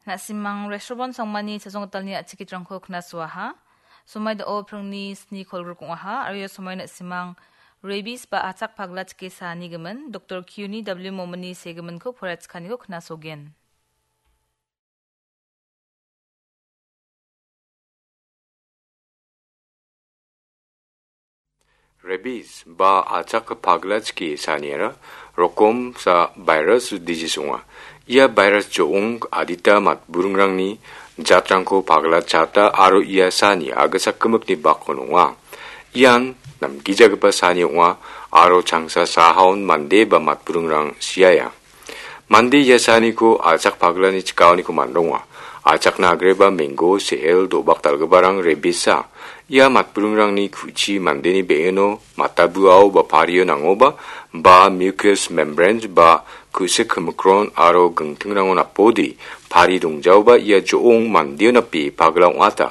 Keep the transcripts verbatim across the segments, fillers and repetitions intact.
Na·simang Reshobon Songmani chajonggitalni a·chikitrangko knasoaha. Somai da·o pringni sni kolgruk ong·aha, aro ia somai na·simang rabies ba achak pagla chike saanigimin, Doktor Kiuni W Momani segiminko poraichikaniko knasogen. Rabies ba achak pagla chike saniara rokom sa virus disease ong·a. Ia virus jo·ong adita matburingrangni jatrangko pagla chata aro ia sani agisa gimikni bakon ong·a. Ian namgijagipa sani ong·a aro changsa sahaon mande ba matburingrang siaia. Mande ia saniko achak paglani chikaoniko mandonga. Achakna agreba menggo, se·el, do·bak dal·giparang rebisa. Ia matburingrangni ku·chi mandeni be·eno matabuao ba pario nangoba, ba mucous membranes ba ku·sik kimikron aro gingtingrango napode pari dongjaoba ia jo·ong mandeo nape pagla ong·ata.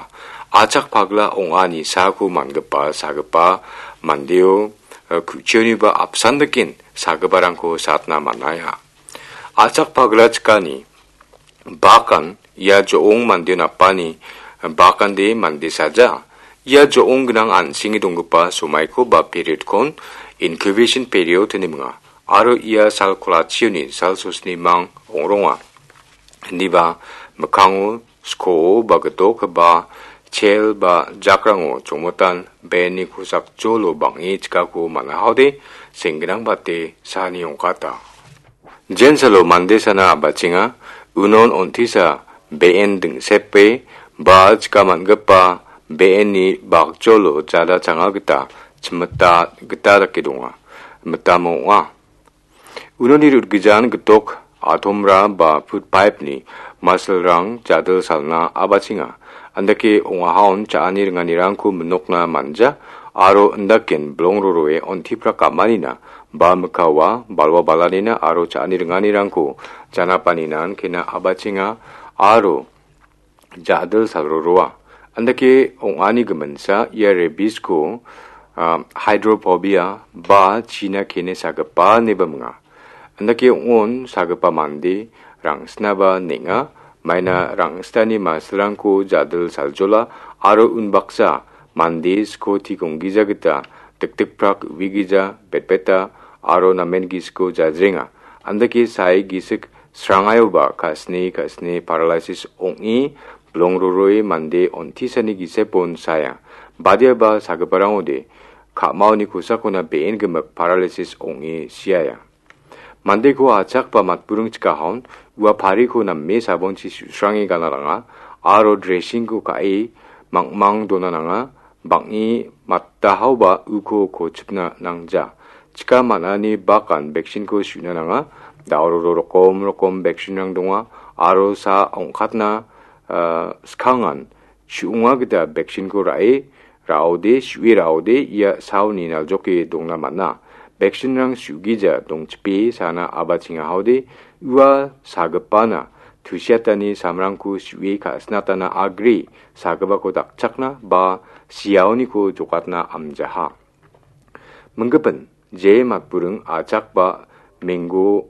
Achak pagla ong·ani sako mangipa sagipa mandeo, eh, ku·chioniba apsan daken sagiparangko satna man·aia. Achak pagla chikani bakan ia jo·ong mande napani bakande mande saja. Ia jo·ong gnang an·senge donggipa somaiko ba periodkon incubation period ine minga. Aro ia sal kolachioni sal sosnimang ong·ronga. Indiba mikkango skoo ba gitok ba chel ba jakrango chongmotan benni kosakjolo bang·e chikako man·ahode senggnang bate sani ong·kata. Jensalo mande sana a·bachenga, unon on·tisa be·en dingsepe ba chika man·gipa be·enni bakjolo jada changa gita chimita gita dake donga. Mitamo ong·a. Unoni rutgijan gitok atomra ba food pipe-ni masilrang jadil salna a·bachenga. Andake ong·ahaon cha·ani ringanirangko minokna manja aro indaken bilongroroe on·tiprak am·anina ba mikkawa balwa balanina aro cha·ani ringanirangko janapaninan kena a·bachenga aro ja·dil salroroa. Andake ong·ani giminsa ia rabies-ko, ah, hydrophobia ba china kene sagipa ineba minga. Andake ong·on sagipa mande rangsnaba neng·a, maina rangsitani masilrangko ja·dil saljola aro unbaksa mande skoti gonggija gita dikdikprak uigija betbeta aro namen gisiko jajrenga. Andake sae gisik srangaioba ka·sini ka·sini paralysis ong·e bilongroroi mande on·tisani gisepon saia. Badiaba sagiparangode ka·maoni kosakona be·en gimik paralysis ong·e siaia. Mandeko achak ba matburing chikahaon ua pariko name sabonchi su·srange gana nanga aro dressing-ko ka·e mangmang dona nanga. Bang·e matahaoba uko kochipna nangja. Chika man·ani bakan vaccine-ko su·na nanga. Daororo rokom rokom vaccine-rang donga aro sa ong·katna, ah, skangan su·onga gita vaccine-ko ra·e, ra·ode, su·e ra·ode ia saoni naljoke dongna man·a. Vaccine-rang su·gija dongchipe sana a·bachengahaode ua sagipana tusiatani samrangko su·e ka·sinatana agre sagipako dakchakna ba siaoniko jokatna amjaha. Minggipin, je matburing achak ba menggo